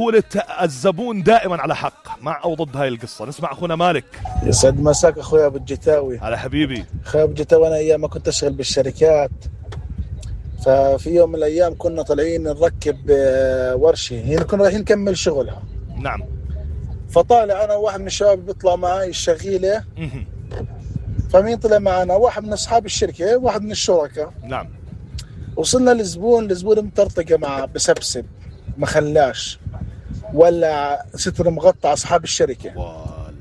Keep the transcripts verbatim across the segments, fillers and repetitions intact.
قولة الزبون دائما على حق، مع أو ضد هاي القصة. نسمع أخونا مالك. يسعد مساك أخويا أبو الجتاوي. على حبيبي. أخويا أبو الجتاوي، أنا أيام ما كنت أشتغل بالشركات، ففي يوم من الأيام كنا طالعين نركب ورشة، هنا كنا رايحين نكمل شغلها. نعم. فطالع أنا وواحد من الشباب بيطلع معي الشغيلة. فمين طلع معنا؟ واحد من أصحاب الشركة، واحد من الشركاء. نعم. وصلنا للزبون، الزبون مطرطقة معه بسبسب ما خلاش، ولا ستر مغطى أصحاب الشركة. وال.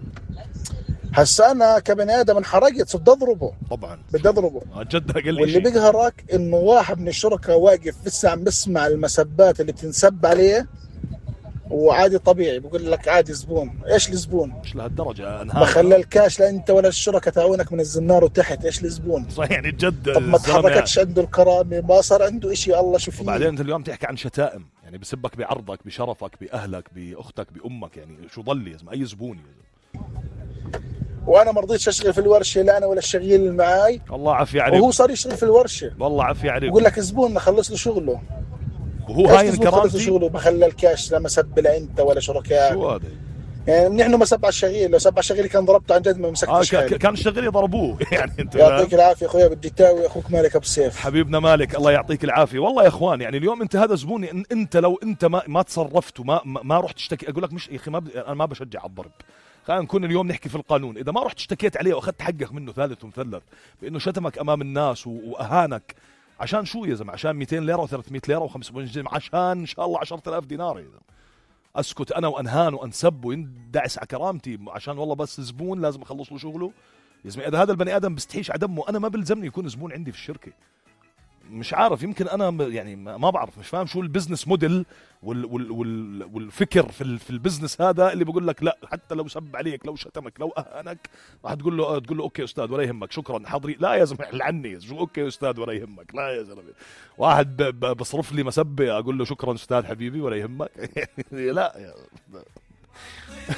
هسا أنا كبني آدم انحرقت، صرت أضربه. طبعا بدي أضربه. جد أقل واللي بيقهرك إنه واحد من الشركاء واقف لسه عم بسمع المسبات اللي بتنسب عليه، وعادي طبيعي بقول لك عادي زبون. إيش الزبون؟ مش لهالدرجة ما خلى الكاش لا أنت ولا الشركاء تعاونك من الزنار وتحت. إيش الزبون؟ صحيح يعني جد. طب ما تحركتش يعني. عنده الكرامة، ما صار عنده إشي، الله شو فيه. وبعدين أنت اليوم تحكي عن شتائم، يعني بسبك بعرضك بشرفك بأهلك بأختك بأمك، يعني شو ضل يا زلمة؟ أي زبون يا زلمة. وانا ما رضيتش اشتغل في الورشه، لا انا ولا الشغيل اللي معاي. الله عافية عليك. وهو صار يشتغل في الورشه. والله عافية عليك. بقول لك زبون خلص له شغله، وهو هاي خلص له شغله، ما خلى الكاش لا مسب لا انت ولا شركاء. شو هذا يعني نحن ما سب على الشغيل، لو سب على الشغيل كان ضربته عن جد ما مسكتش. آه كان الشغيل يضربوه يعني. انت يعطيك العافيه اخويا بالجتاوي، اخوك مالك ابو سيف. حبيبنا مالك، الله يعطيك العافيه. والله يا اخوان يعني اليوم انت هذا زبوني، إن انت لو انت ما ما تصرفت وما ما رحت تشتكي، اقول لك مش يا اخي ما انا ما بشجع على الضرب، خلينا نكون اليوم نحكي في القانون. اذا ما رحت اشتكيت عليه واخذت حقك منه ثالث ومثلث بانه شتمك امام الناس واهانك، عشان شو يا زلمه؟ عشان مئتين ليره وثلاثمئة ليره وخمسمئة جنيه، عشان ان شاء الله عشرة آلاف دينار يا زلمه. اسكت انا وانهان وانسب ويندعس على كرامتي عشان والله بس زبون لازم اخلص له شغله؟ يا زلمه اذا هذا البني ادم بستحيش على دمه، انا ما بلزمني يكون زبون عندي في الشركه. مش عارف، يمكن انا يعني ما بعرف، مش فاهم شو البزنس موديل وال وال وال والفكر في في البزنس هذا اللي بقول لك لا حتى لو سب عليك لو شتمك لو اهانك راح تقول له تقول له اوكي استاذ ولا يهمك شكرا حاضري. لا يا زلمه لعني شو اوكي استاذ ولا يهمك؟ لا يا زلمه، واحد بصرف لي مسبه اقول له شكرا استاذ حبيبي ولا يهمك؟ لا يا